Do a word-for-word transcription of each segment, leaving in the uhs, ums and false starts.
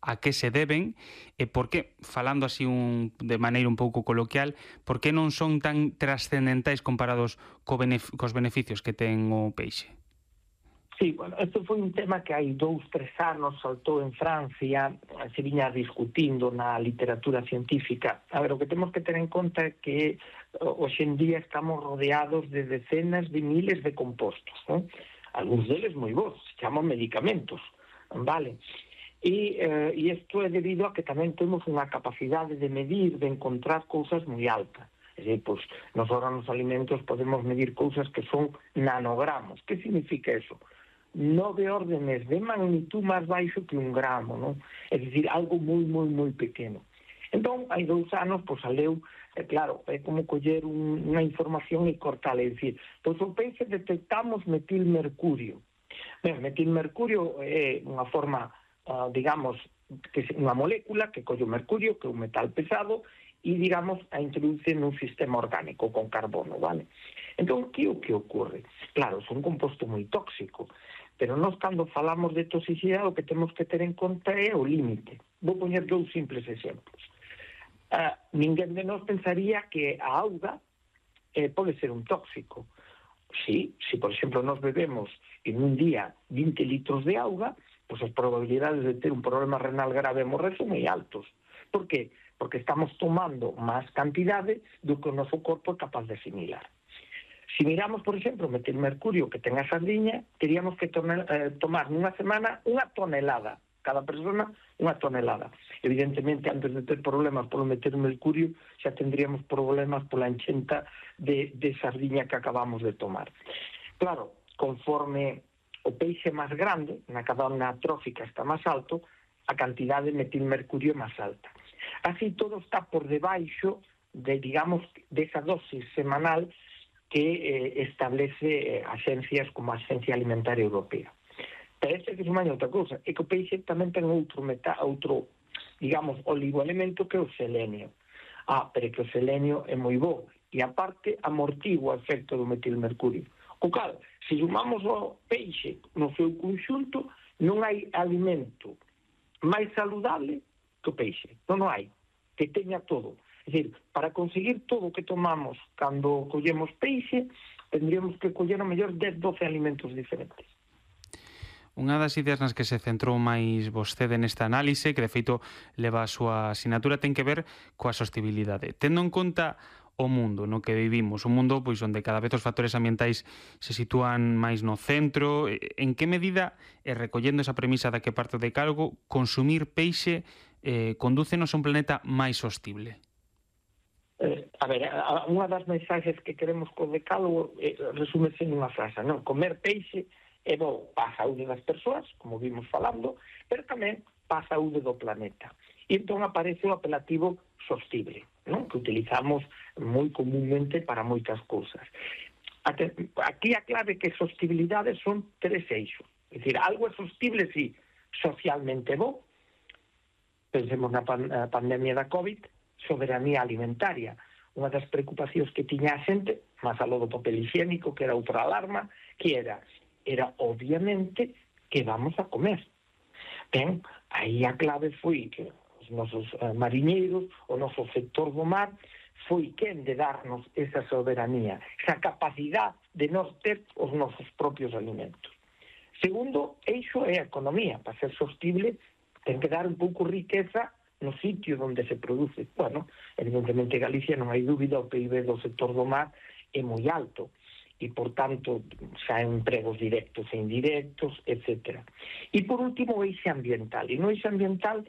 a que se deben e por que, falando así un, de maneira un pouco coloquial, por que non son tan trascendentais comparados co benef cos beneficios que ten o peixe? Sí, bueno, este foi un tema que hai dous, tres anos saltou en Francia, se viña discutindo na literatura científica. A ver, o que temos que ter en conta é que hoxe en día estamos rodeados de decenas de miles de compostos, ¿no? Algúns deles moi bons, se chaman medicamentos, vale? E eh, isto é debido a que tamén temos unha capacidade de medir, de encontrar cousas moi alta. É dicir, pois, nos órganos alimentos podemos medir cousas que son nanogramos. Que significa eso? Nove órdenes de magnitud máis baixo que un gramo, non? É dicir, algo moi, moi, moi pequeno. Entón, hai dous anos, pois, saleu, é claro, é como coller un, unha información e cortala, é dicir, pois o peixe detectamos metilmercurio. Ben, metilmercurio é unha forma, uh, digamos, que é unha molécula que colle o mercurio, que é un metal pesado, e, digamos, a introduce nun sistema orgánico con carbono, vale? Entón, que o que ocorre? Claro, é un composto moi tóxico, pero nós, cando falamos de toxicidade, o que temos que ter en conta é o límite. Vou poñer dous simples exemplos. Uh, ninguén de nós pensaría que a auga eh, pode ser un tóxico. Si, si, por exemplo, nós bebemos en un día vinte litros de auga, pois as probabilidades de ter un problema renal grave e morrer son moi altos. Por qué? Porque estamos tomando máis cantidade do que o noso corpo é capaz de asimilar. Si miramos, por exemplo, o metilmercurio que ten a sardiña, teríamos que tomar, eh, tomar nunha semana unha tonelada. Cada persona unha tonelada. Evidentemente, antes de ter problemas polo metilmercurio, xa tendríamos problemas pola enchenta de, de sardiña que acabamos de tomar. Claro, conforme o peixe máis grande, na cadena trófica está máis alto, a cantidade de metilmercurio é máis alta. Así, todo está por debaixo de, digamos, desa dosis semanal que eh, establece eh, agencias como a Agencia Alimentaria Europea. Parece que se maña outra cousa, é que o peixe tamén ten outro, meta, outro digamos, oligoelemento que é o selenio. Ah, pero que o selenio é moi bo, e aparte amortigua o efecto do metilmercurio. O cal, se sumamos o peixe no seu conxunto, non hai alimento máis saludable que o peixe. Non hai, que teña todo. É dicir, para conseguir todo o que tomamos cando collemos peixe, tendríamos que coller o mellor dez, doce alimentos diferentes. Unha das ideas nas que se centrou máis vostede nesta análise, que de feito leva a súa asignatura, ten que ver coa sostibilidade. Tendo en conta o mundo no que vivimos, un mundo pois onde cada vez os factores ambientais se sitúan máis no centro, en que medida, e recollendo esa premisa da que parte de Calgo, consumir peixe eh, condúcenos a un planeta máis sostible? Eh, a ver, unha das mensaxes que queremos co decálogo eh, resúmese nunha frase, non? Comer peixe é bo para a saúde das persoas, como vimos falando, pero tamén para a saúde do planeta. E entón aparece o apelativo sostible, non? Que utilizamos moi comúnmente para moitas cousas. Aquí a clave que sostibilidade son tres eixos. É dicir, algo é sostible, si, socialmente bo. Pensemos na pan pandemia da COVID, soberanía alimentaria. Unha das preocupacións que tiña a xente, máis aló do papel higiénico, que era outra alarma, que era era obviamente que vamos a comer. Ben, aí a clave foi que os nosos eh, mariñeiros, o noso sector do mar, foi quen de darnos esa soberanía, esa capacidade de nós ter os nosos propios alimentos. Segundo, eixo é a economía. Para ser sostible, ten que dar un pouco riqueza no sitio onde se produce. Bueno, evidentemente Galicia non hai dúbida, o P I B do sector do mar é moi alto, e, por tanto, xa empregos directos e indirectos, etcétera. E, por último, o eixe ambiental. E no eixe ambiental,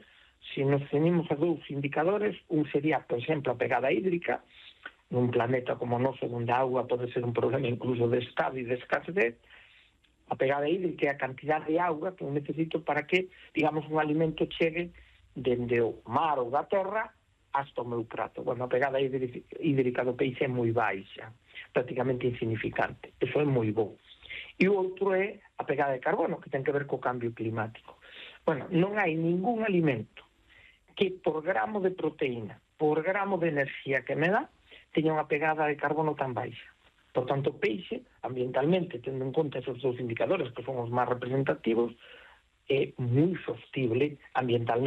se nos ceñimos a dous indicadores, un sería, por exemplo, a pegada hídrica, nun planeta como o noso, onde a auga pode ser un problema incluso de estado e de escasez. A pegada hídrica é a cantidad de auga que eu necesito para que, digamos, un alimento chegue dende o mar ou da terra hasta o meu prato. Bueno, a pegada hídrica do peixe é moi baixa, prácticamente insignificante. Eso é moi bo. E o outro é a pegada de carbono, que ten que ver co cambio climático. Bueno, non hai ningún alimento que por gramo de proteína, por gramo de enerxía que me dá, teña unha pegada de carbono tan baixa. Por tanto, o peixe, ambientalmente, tendo en conta esos dous indicadores que son os máis representativos, é moi sostible ambientalmente.